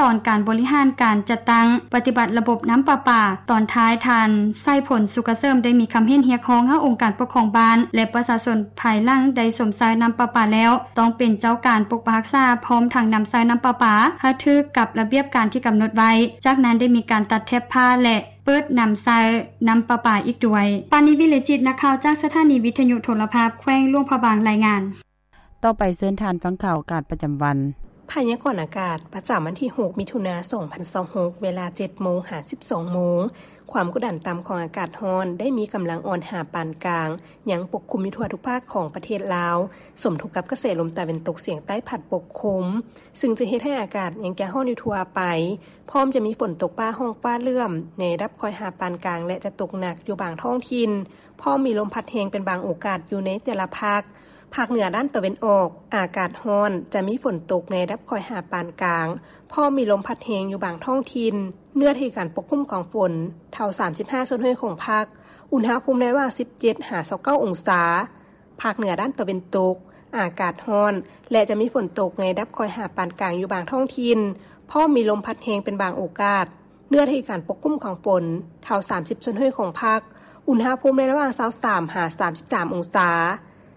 ຕອນການບໍລິຫານການຈັດຕັ້ງປະຕິບັດລະບົບນ້ຳປະປາ. ຕອນທ້າຍ ທ່ານ ໄຊພົນ ສຸກກະເສີມ ໄດ້ມີຄຳເຫັນຮຽກຮ້ອງໃຫ້ອົງການປົກຄອງບ້ານ ແລະ ປະຊາຊົນພາຍຫຼັງໄດ້ຊົມໃຊ້ນ້ຳປະປາແລ້ວ ຕ້ອງເປັນເຈົ້າການປົກປັກຮັກສາ ພ້ອມທັງນຳໃຊ້ນ້ຳປະປາໃຫ້ຖືກກັບລະບຽບການທີ່ກຳນົດໄວ້. ຈາກນັ້ນໄດ້ມີການຕັດແຖບຜ້າ ແລະ ເປີດນຳໃຊ້ນ້ຳປະປາອີກດ້ວຍ. ປານີ ວິເລຈິດ ນັກຂ່າວຈາກສະຖານີວິທະຍຸໂທລະພາບແຂວງຫຼວງພະບາງ ລາຍງານ. ຕໍ່ໄປເຊີນທ່ານຟັງຂ່າວອາກາດປະຈຳວັນ. ພະຍາກອນອາກາດປະຈຳວັນທີຫົກ ມິຖຸນາ ສອງພັນຊາວຫົກ ເວລາເຈັດໂມງຫາສິບສອງໂມງ. ຄວາມກົດດັນຕ່ຳຂອງອາກາດຮ້ອນໄດ້ມີກຳລັງອ່ອນຫາປານກາງ ຍັງປົກຄຸມຢູ່ທົ່ວທຸກພາກຂອງປະເທດລາວ, ສົມທົບກັບກະແສລົມຕາເວັນຕົກສຽງໃຕ້ພັດປົກຄຸມ, ຊຶ່ງຈະເຮັດໃຫ້ອາກາດຍັງຈະຮ້ອນຢູ່ທົ່ວໄປ, ພ້ອມຈະມີຝົນຕົກຟ້າຮ້ອງຟ້າເຫຼື້ອມໃນລະດັບຄ່ອຍຫາປານກາງ ແລະ ຈະຕົກໜັກຢູ່ບາງທ້ອງຖິ່ນ, ພ້ອມມີລົມພັດແຮງເປັນບາງໂອກາດຢູ່ໃນແຕ່ລະພາກ. ພາກເໜືອດ້ານຕາເວັນອອກ ອາກາດຮ້ອນ, ຈະມີຝົນຕົກໃນລະດັບຄ່ອຍຫາປານກາງ, ພ້ອມມີລົມພັດແຮງຢູ່ບາງທ້ອງຖິ່ນ. ເນື້ອທີ່ການປົກຄຸມຂອງຝົນ ເທົ່າສາມສິບຫ້າສ່ວນຮ້ອຍຂອງພາກ, ອຸນຫະພູມໃນລະຫວ່າງສິບເຈັດຫາຊາວເກົ້າອົງສາ. ພາກເໜືອດ້ານຕາເວັນຕົກ ອາກາດຮ້ອນ ແລະ ຈະມີຝົນຕົກໃນລະດັບຄ່ອຍຫາປານກາງຢູ່ບາງທ້ອງຖິ່ນ, ພ້ອມມີລົມພັດແຮງເປັນບາງໂອກາດ. ເນື້ອທີ່ການປົກຄຸມຂອງຝົນ ເທົ່າສາມສິບສ່ວນຮ້ອຍຂອງພາກ, ອຸນຫະພູມໃນລະຫວ່າງຊາວສາມຫາສາມສິບສາມອົງສາ.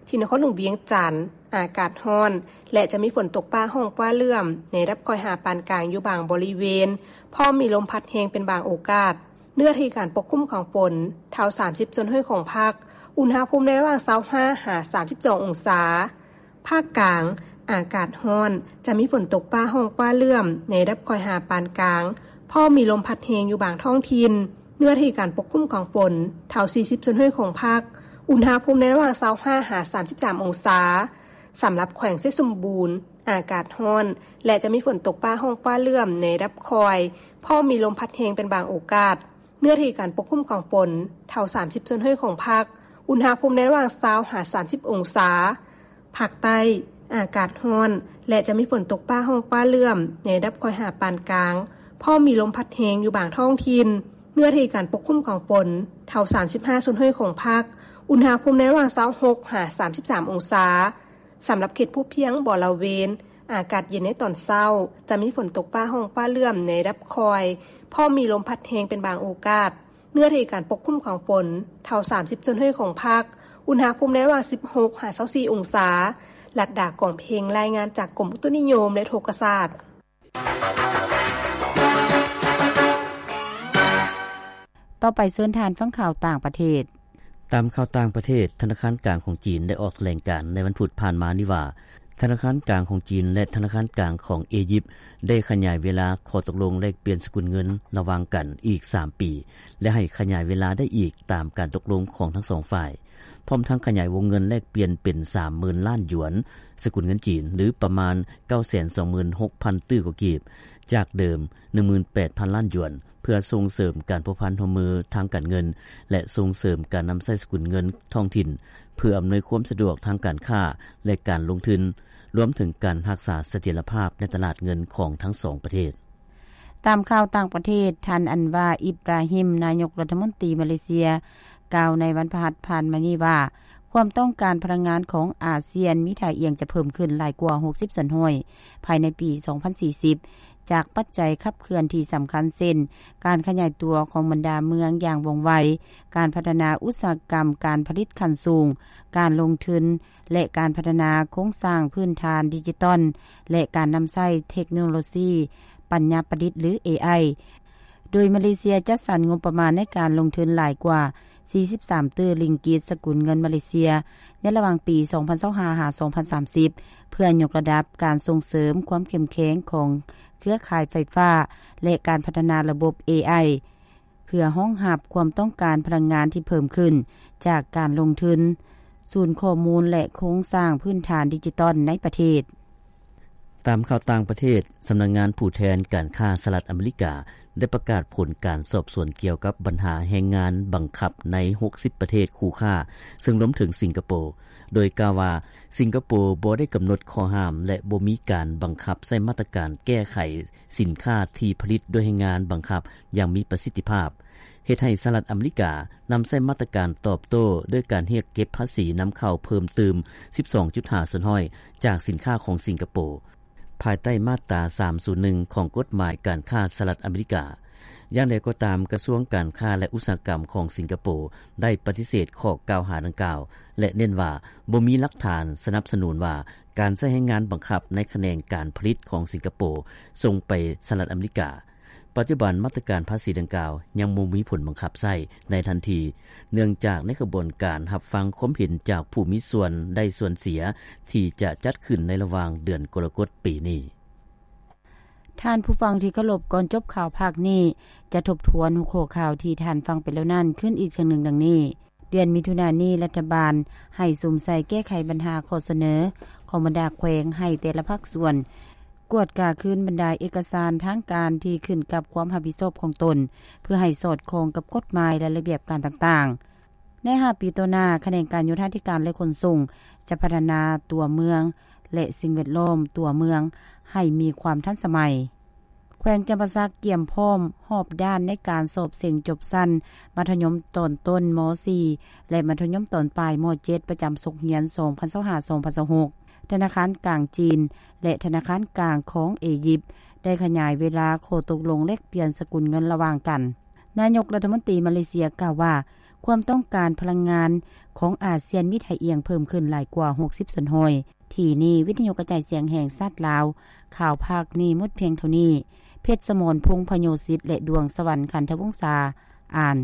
ທີ່ນະຄອນຫຼວງວຽງຈັນ ອາກາດຮ້ອນ ແລະ ຈະມີຝົນຕົກຟ້າຮ້ອງຟ້າເຫຼື້ອມ ໃນລະດັບຄ່ອຍຫາປານກາງຢູ່ບາງບໍລິເວນ, ພ້ອມມີລົມພັດແຮງເປັນບາງໂອກາດ. ເນື້ອທີ່ການປົກຄຸມຂອງຝົນ ເທົ່າສາມສິບສ່ວນຮ້ອຍຂອງພາກ, ອຸນຫະພູມໃນລະຫວ່າງຊາວຫ້າຫາສາມສິບສອງອົງສາ. ພາກກາງ ອາກາດຮ້ອນ, ຈະມີຝົນຕົກຟ້າຮ້ອງຟ້າເຫຼື້ອມ ໃນລະດັບຄ່ອຍຫາປານກາງ, ພ້ອມມີລົມພັດແຮງຢູ່ບາງທ້ອງຖິ່ນ. ເນື້ອທີ່ການປົກຄຸມຂອງຝົນ ເທົ່າສີ່ສິບສ່ວນຮ້ອຍຂອງພາກ, ອຸນຫະພູມໃນລະຫວ່າງຊາວຫ້າຫາສາມສິບສາມອົງສາ. ສຳລັບແຂວງໄຊສົມບູນ ອາກາດຮ້ອນ ແລະ ຈະມີຝົນຕົກຟ້າຮ້ອງຟ້າເຫຼື້ອມ ໃນລະດັບຄ່ອຍ, ພ້ອມມີລົມພັດແຮງເປັນບາງໂອກາດ. ເນື້ອທີ່ການປົກຄຸມຂອງຝົນ ເທົ່າສາມສິບສ່ວນຮ້ອຍຂອງພາກ, ອຸນຫະພູມໃນລະຫວ່າງຊາວຫາສາມສິບອົງສາ. ພາກໃຕ້ ອາກາດຮ້ອນ ແລະ ຈະມີຝົນຕົກຟ້າຮ້ອງຟ້າເຫຼື້ອມ ໃນລະດັບຄ່ອຍຫາປານກາງ, ພ້ອມມີລົມພັດແຮງຢູ່ບາງທ້ອງຖິ່ນ. ເນື້ອທີ່ການປົກຄຸມຂອງຝົນ ເທົ່າສາມສິບຫ້າສ່ວນຮ້ອຍຂອງພາກ, ອຸນຫະພູມໃນລະຫວ່າງຊາວຫົກຫາສາມສິບສາມອົງສາ. ສຳລັບເຂດພູພຽງບໍລະເວນ, ອາກາດເຢັນໃນຕອນເຊົ້າ, ຈະມີຝົນຕົກຟ້າຮ້ອງຟ້າເຫຼື້ອມ ໃນລະດັບຄ່ອຍ, ພ້ອມມີລົມພັດແຮງເປັນບາງໂອກາດ. ເນື້ອທີ່ການປົກຄຸມຂອງຝົນ ເທົ່າສາມສິບສ່ວນຮ້ອຍຂອງພາກ, ອຸນຫະພູມໃນລະຫວ່າງສິບຫົກຫາຊາວສີ່ອົງສາ. ລັດດາ ກອງເພັງ ລາຍງານຈາກກົມອຸຕຸນິຍົມ ແລະ ອຸທົກກະສາດ. ຕໍ່ໄປເຊີນທ່ານຟັງຂ່າວຕ່າງປະເທດ. ຕາມຂ່າວຕ່າງປະເທດ, ທະນາຄານກາງຂອງຈີນໄດ້ອອກຖະແຫຼງການໃນວັນພຸດຜ່ານມານີ້ວ່າ, ທະນາຄານກາງຂອງຈີນ ແລະ ທະນາຄານກາງຂອງອີຢິບ ໄດ້ຂະຫຍາຍເວລາຂໍ້ຕົກລົງແລກປ່ຽນສະກຸນເງິນລະຫວ່າງກັນອີກສາມປີ ແລະ ໃຫ້ຂະຫຍາຍເວລາໄດ້ອີກຕາມການຕົກລົງຂອງທັງສອງຝ່າຍ, ພ້ອມທັງຂະຫຍາຍວົງເງິນແລກປ່ຽນເປັນສາມໝື່ນລ້ານຢວນ ສະກຸນເງິນຈີນ ຫຼື ປະມານເກົ້າແສນສອງໝື່ນຫົກພັນຕື້ກວ່າກີບ ຈາກເດີມໜຶ່ງໝື່ນແປດພັນລ້ານຢວນ. ເພື່ອສົ່ງເສີມການພົວພັນຮ່ວມມືທາງການເງິນ ແລະ ສົ່ງເສີມການນຳໃຊ້ສະກຸນເງິນທ້ອງຖິ່ນ ເພື່ອອຳນວຍຄວາມສະດວກທາງການຄ້າ ແລະ ການລົງທຶນ, ລວມເຖິງການຮັກສາສະຖຽນລະພາບໃນຕະຫຼາດເງິນຂອງທັງສອງປະເທດ. ຕາມຂ່າວຕ່າງປະເທດ, ທ່ານ ອັນວາ ອິບຣາຮິມ ນາຍົກລັດຖະມົນຕີມາເລເຊຍ ກ່າວໃນວັນພະຫັດຜ່ານມານີ້ວ່າ, ຄວາມຕ້ອງການພະລັງງານຂອງອາຊຽນມີທ່າອ່ຽງຈະເພີ່ມຂຶ້ນຫຼາຍກວ່າຫົກສິບສ່ວນຮ້ອຍ ພາຍໃນປີສອງພັນສີ່ສິບ ຈາກປັດໄຈຂັບເຄື່ອນທີ່ສຳຄັນເຊັ່ນ ການຂະຫຍາຍຕົວຂອງບັນດາເມືອງຢ່າງວ່ອງໄວ, ການພັດທະນາອຸດສາຫະກຳການຜະລິດຂັ້ນສູງ, ການລົງທຶນ ແລະ ການພັດທະນາໂຄງສ້າງພື້ນຖານດິຈິຕອນ ແລະ ການນຳໃຊ້ເທັກໂນໂລຊີປັນຍາປະດິດ ຫຼື ເອໄອ. ໂດຍມາເລເຊຍຈັດສັນງົບປະມານໃນການລົງທຶນຫຼາຍກວ່າສີ່ສິບສາມຕື້ລິງກີດ ສະກຸນເງິນມາເລເຊຍ ໃນລະຫວ່າງປີສອງພັນຊາວຫ້າຫາສອງພັນສາມສິບ ເພື່ອຍົກລະດັບການສົ່ງເສີມຄວາມເຂັ້ມແຂງຂອງເຄືອຂ່າຍໄຟຟ້າ ແລະ ການພັດທະນາລະບົບເອໄອ ເພື່ອຮອງຮັບຄວາມຕ້ອງການພະລັງງານທີ່ເພີ່ມຂຶ້ນຈາກການລົງທຶນສູນຂໍ້ມູນ ແລະ ໂຄງສ້າງພື້ນຖານດິຈິຕອນໃນປະເທດ. ຕາມຂ່າວຕ່າງປະເທດ, ສຳນັກງານຜູ້ແທນການຄ້າສະຫະລັດອາເມລິກາ ໄດ້ປະກາດຜົນການສອບສວນກ່ຽວກັບບັນຫາແຮງງານບັງຄັບໃນຫົກສິບປະເທດຄູ່ຄ້າ, ເຊິ່ງລວມເຖິງສິງກະໂປ, ໂດຍກ່າວວ່າ ສິງກະໂປບໍ່ໄດ້ກຳນົດຂໍ້ຫ້າມ ແລະ ບໍ່ມີການບັງຄັບໃຊ້ມາດຕະການແກ້ໄຂສິນຄ້າທີ່ຜະລິດດ້ວຍແຮງງານບັງຄັບຢ່າງມີປະສິດທິພາບ, ເຮັດໃຫ້ສະຫະລັດອາເມລິການຳໃຊ້ມາດຕະການຕອບໂຕ້ດ້ວຍການຮຽກເກັບພາສີນຳເຂົ້າເພີ່ມຕື່ມສິບສອງຈຸດຫ້າສ່ວນຮ້ອຍຈາກສິນຄ້າຂອງສິງກະໂປ. ພາຍໃຕ້ມາດຕາສາມສູນໜຶ່ງຂອງກົດໝາຍການຄ້າສະຫະລັດອາເມລິກາ. ຢ່າງໃດກໍຕາມ, ກະຊວງການຄ້າ ແລະ ອຸດສາຫະກຳຂອງສິງກະໂປໄດ້ປະຕິເສດຂໍ້ກ່າວຫາດັ່ງກ່າວ ແລະ ເນັ້ນວ່າບໍ່ມີຫຼັກຖານສະໜັບສະໜູນວ່າການໃຊ້ແຮງງານບັງຄັບໃນຂະແໜງການຜະລິດຂອງສິງກະໂປສົ່ງໄປສະຫະລັດອາເມລິກາ. ປັດຈຸບັນມາດຕະການພາສີດັ່ງກ່າວຍັງບໍ່ມີຜົນບັງຄັບໃຊ້ໃນທັນທີ, ເນື່ອງຈາກໃນຂະບວນການຮັບຟັງຄວາມເຫັນຈາກຜູ້ມີສ່ວນໄດ້ສ່ວນເສຍທີ່ຈະຈັດຂຶ້ນໃນລະຫວ່າງເດືອນກໍລະກົດປີນີ້. ທ່ານຜູ້ຟັງທີ່ເຄົາລົບ, ກ່ອນຈົບຂ່າວພາກນີ້ ຈະທົບທວນຫົວຂໍ້ຂ່າວທີ່ທ່ານຟັງໄປແລ້ວນັ້ນຄືນອີກເທື່ອໜຶ່ງດັ່ງນີ້. ເດືອນມິຖຸນານີ້ ລັດຖະບານໃຫ້ສຸມໃສ່ແກ້ໄຂບັນຫາຂໍ້ສະເໜີຂອງບັນດາແຂວງ ໃຫ້ແຕ່ລະພາກສ່ວນກວດກາຄືນບັນດາເອກະສານທາງການທີ່ຂຶ້ນກັບຄວາມຮັບຜິດຊອບຂອງຕົນ ເພື່ອໃຫ້ສອດຄ່ອງກັບກົດໝາຍ ແລະ ລະບຽບການຕ່າງໆ. ໃນຫ້າປີຕໍ່ໜ້າ, ຂະແໜງການໂຍທາທິການ ແລະ ຂົນສົ່ງ ຈະພັດທະນາຕົວເມືອງ ແລະ ສິ່ງແວດລ້ອມຕົວເມືອງໃຫ້ມີຄວາມທັນສະໄໝ. ແຂວງຈຳປາສັກກຽມພ້ອມຮອບດ້ານໃນການສອບເສັງຈົບຊັ້ນມັດທະຍົມຕອນຕົ້ນ ມໍສີ່ ແລະ ມັດທະຍົມຕອນປາຍ ມໍເຈັດ ປະຈຳສົກຮຽນ ສອງພັນຊາວຫ້າ ສອງພັນຊາວຫົກ. ທະນາຄານກາງຈີນ ແລະ ທະນາຄານກາງຂອງເອຢິບ ໄດ້ຂະຫຍາຍເວລາຂໍ້ຕົກລົງແລກປ່ຽນສະກຸນເງິນລະຫວ່າງກັນ. ນາຍົກລັດຖະມົນຕີມາເລເຊຍກ່າວວ່າ ຄວາມຕ້ອງການພະລັງງານຂອງອາຊຽນມີທ່າອ່ຽງເພີ່ມຂຶ້ນຫຼາຍກວ່າຫົກສິບສ່ວນຮ້ອຍ. ທີ່ນີ້ ວິທະຍຸກະຈາຍສຽງແຫ່ງຊາດລາວ, ຂ່າວພາກນີ້ໝົດພຽງເທົ່ານີ້. ເພັດສະໝອນ ພົງພະໂຍສິດ ແລະ ດວງສະຫວັນ ຂັນທະວົງສາ ອ່ານ.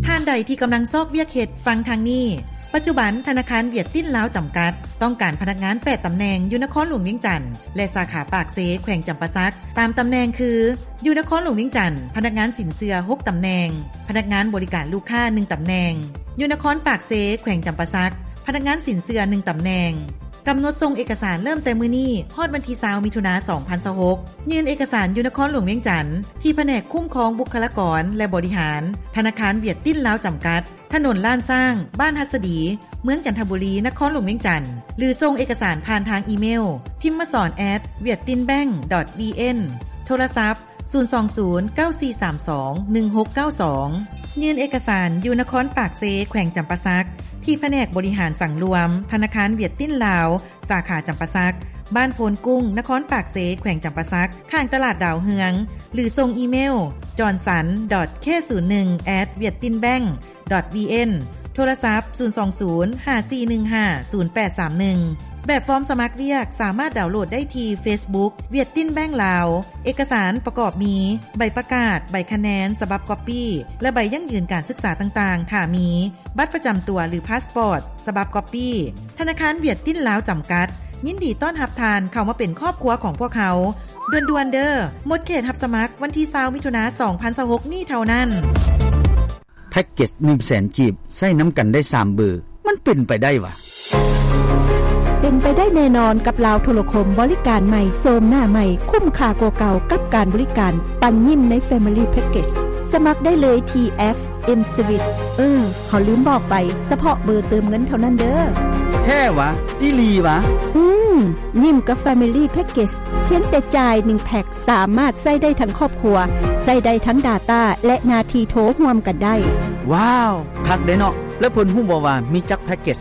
ທ່ານໃດທີ່ກຳລັງຊອກວຽກເຮັດ, ຟັງທາງນີ້. ປັດຈຸບັນ, ທະນາຄານຫວຽດຕິນລາວຈຳກັດ ຕ້ອງການພະນັກງານແປດຕຳແໜ່ງ ຢູ່ນະຄອນຫຼວງວຽງຈັນ ແລະ ສາຂາປາກເຊ ແຂວງຈຳປາສັກ. ຕາມຕຳແໜ່ງຄື ຢູ່ນະຄອນຫຼວງວຽງຈັນ, ພະນັກງານສິນເຊື່ອ ຫົກຕຳແໜ່ງ, ພະນັກງານບໍລິການລູກຄ້າ ໜຶ່ງຕຳແໜ່ງ. ຢູ່ນະຄອນປາກເຊ ແຂວງຈຳປາສັກ, ພະນັກງານສິນເຊື່ອ ໜຶ່ງຕຳແໜ່ງ. ກຳນົດສົ່ງເອກະສານເລີ່ມແຕ່ມື້ນີ້ ຮອດວັນທີຊາວ ມິຖຸນາ ສອງພັນຊາວຫົກ. ຍື່ນເອກະສານຢູ່ນະຄອນຫຼວງວຽງຈັນ ທີ່ພະແນກຄຸ້ມຄອງບຸກຄະລາກອນ ແລະ ບໍລິຫານ ທະນາຄານຫວຽດຕິນລາວຈຳກັດ, ຖະໜົນລ້ານຊ້າງ, ບ້ານຫັດສະດີ, ເມືອງຈັນທະບູລີ, ນະຄອນຫຼວງວຽງຈັນ ຫຼື ສົ່ງເອກະສານຜ່ານທາງອີເມວ ທິມມະສອນ ແອັດ ຫວຽດຕິນແບັງ ດອດ ບີເອັນ, ໂທລະສັບ ສູນສອງສູນ ເກົ້າສີ່ສາມສອງ ໜຶ່ງຫົກເກົ້າສອງ. ຍື່ນເອກະສານຢູ່ນະຄອນປາກເຊ ແຂວງຈຳປາສັກ ທີ່ພະແນກບໍລິຫານສັງລວມ ທະນາຄານຫວຽດຕິນລາວ ສາຂາຈຳປາສັກ, ບ້ານໂພນກຸ້ງ, ນະຄອນປາກເຊ, ແຂວງຈຳປາສັກ, ຂ້າງຕະຫຼາດດາວເຮືອງ ຫຼື ສົ່ງອີເມວ ຈອນສັນ ດອດ ເຄ ສູນໜຶ່ງ ແອັດ ຫວຽດຕິນແບັງ ດອດ ບີເອັນ, ໂທລະສັບ ສູນສອງສູນ ຫ້າສີ່ໜຶ່ງຫ້າ ສູນແປດສາມໜຶ່ງ. ແບບຟອມສະໝັກວຽກສາມາດດາວໂຫຼດໄດ້ທີ່ເຟສບຸກ ຫວຽດຕິນແບັງລາວ. ເອກະສານປະກອບມີ ໃບປະກາດ, ໃບຄະແນນສະບັບກັອບປີ້ ແລະ ໃບຢັ້ງຢືນການສຶກສາຕ່າງໆ ຖ້າມີ, ບັດປະຈຳຕົວ ຫຼື ພາສປອດສະບັບກັອບປີ້. ທະນາຄານຫວຽດຕິນລາວຈຳກັດ ຍິນດີຕ້ອນຮັບທ່ານເຂົ້າມາເປັນຄອບຄົວຂອງພວກເຮົາ. ດ່ວນໆເດີ້, ໝົດເຂດຮັບສະໝັກວັນທີຊາວ ມິຖຸນາ ສອງພັນຊາວຫົກນີ້ເທົ່ານັ້ນ. ແພັກເກັດໜຶ່ງແສນກີບ ໃຊ້ນຳກັນໄດ້ສາມເບີ, ມັນເປັນໄປໄດ້ຫວາ? ເປັນໄປໄດ້ແນ່ນອນກັບລາວໂທລະຄົມ, ບໍລິການໃໝ່, ໂສມໜ້າໃໝ່, ຄຸ້ມຄ່າກວ່າເກົ່າກັບການບໍລິການປັນຍິ້ມໃນ Family Package. ສະໝັກໄດ້ເລີຍທີ່ແອັບ M-Switch. ເອີ, ເຮົາລືມບອກໄປ, ສະເພາະເບີເຕີມເງິນເທົ່ານັ້ນເດີ້. ແທ້ຫວາ? ອີ່ຫຼີຫວາ? ອືມ, ຍິ້ມກັບ Family Package ພຽງແຕ່ຈ່າຍໜຶ່ງແພັກ ສາມາດໃຊ້ໄດ້ທັງຄອບຄົວ, ໃຊ້ໄດ້ທັງ data ແລະ ນາທີໂທຮ່ວມກັນໄດ້. ວ້າວ, ຄັກເດ້ເນາະ. ແລ້ວເພິ່ນຮູ້ບໍ່ວ່າມີຈັກແພັກເກັດ?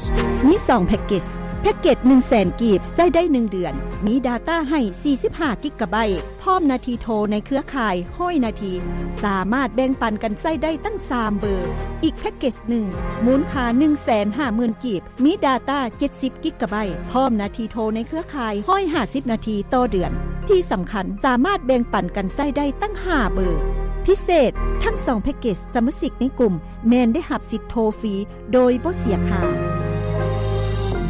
ມີສອງແພັກເກັດ. ແພັກເກັດໜຶ່ງແສນກີບ ໃຊ້ໄດ້ໜຶ່ງເດືອນ, ມີ data ໃຫ້ສີ່ສິບຫ້າກິກກະໄບ, ພ້ອມນາທີໂທໃນເຄືອຂ່າຍຮ້ອຍນາທີ, ສາມາດແບ່ງປັນກັນໃຊ້ໄດ້ຕັ້ງສາມເບີ. ອີກແພັກເກັດໜຶ່ງ ມູນຄ່າໜຶ່ງແສນຫ້າໝື່ນກີບ, ມີ data ເຈັດສິບກິກກະໄບ, ພ້ອມນາທີໂທໃນເຄືອຂ່າຍຮ້ອຍຫ້າສິບນາທີຕໍ່ເດືອນ. ທີ່ສຳຄັນ, ສາມາດແບ່ງປັນກັນໃຊ້ໄດ້ຕັ້ງຫ້າເບີ. ພິເສດ, ທັງສອງແພັກເກັດ, ສະມາຊິກໃນກຸ່ມແມ່ນໄດ້ຮັບສິດໂທຟຣີໂດຍບໍ່ເສຍຄ່າ.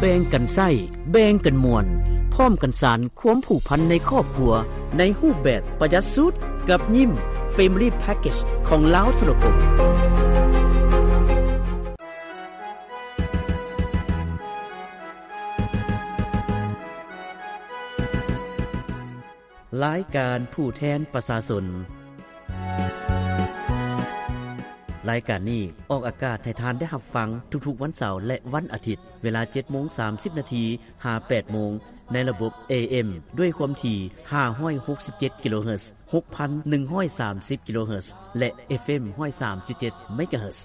ແບ່ງກັນໃຊ້, ແບ່ງກັນມ່ວນ, ພ້ອມກັນສານຄວາມຜູກພັນໃນຄອບຄົວ ໃນຮູບແບບປະຢັດສຸດ ກັບຍິ້ມ Family Package ຂອງລາວໂທລະຄົມ. ລາຍການຜູ້ແທນປະຊາຊົນ. ລາຍການນີ້ອອກອາກາດໃຫ້ທ່ານໄດ້ຮັບຟັງທຸກໆວັນເສົາ ແລະ ວັນອາທິດ, ເວລາເຈັດໂມງສາມສິບນາທີ ຫາ ແປດໂມງ ໃນລະບົບ ເອເອັມ ດ້ວຍຄວາມຖີ່ ຫ້າຮ້ອຍຫົກສິບເຈັດ ກິໂລເຮີດ, ຫົກພັນໜຶ່ງຮ້ອຍສາມສິບ ກິໂລເຮີດ ແລະ ເອັຟເອັມ ຮ້ອຍສາມຈຸດເຈັດ ເມກາເຮີດ.